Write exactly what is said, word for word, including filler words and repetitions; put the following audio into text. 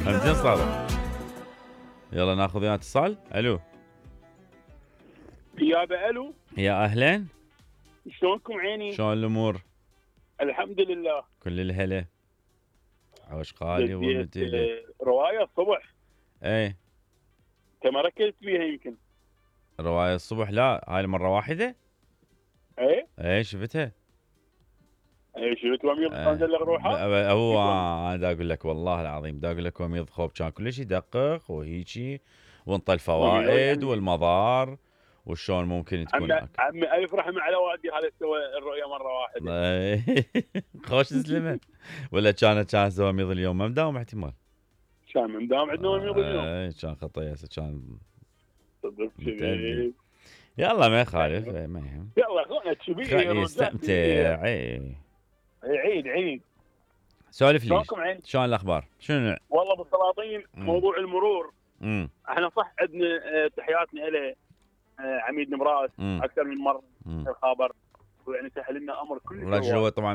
همزين صادق. يلا ناخذ وياه اتصال. الو يابا الو. يا اهلين. شلونكم عيني؟ شلون الامور؟ الحمد لله. كل الهلا. عوش قالي ومتيلي. روايه الصبح. ايه انت ما ركزت بيها يمكن. رواية الصبح لا هاي المرة واحدة. ايه ايه شفتها. ايه شفت وميض انزل روحه. هو انا دا اقول لك والله العظيم دا اقول لك وميض خوب كان كل شيء يدقق وهيجي وانطى الفوائد والمضار وشلون ممكن تكون. عمي عمي الف رحمه على والدي هذا سوى الرؤيه مره واحده. خوش سلمه. ولا كانت كانت وميض اليوم ما مداوم احتمال. كان مداوم عندنا وميض اليوم. ايه كان خطيه كان. صدق كذي. يلا ما يخالف ما يهم. يلا خلنا تشبيه خلي يستمتع. اي عيد عيد. سولف لي شلون الاخبار؟ شنو؟ والله بالسلاطين موضوع المرور. امم احنا صح عندنا تحياتنا له عميد نمراس اكثر من مره الخبر ويعني سهل لنا امر كل رجل هو طبعا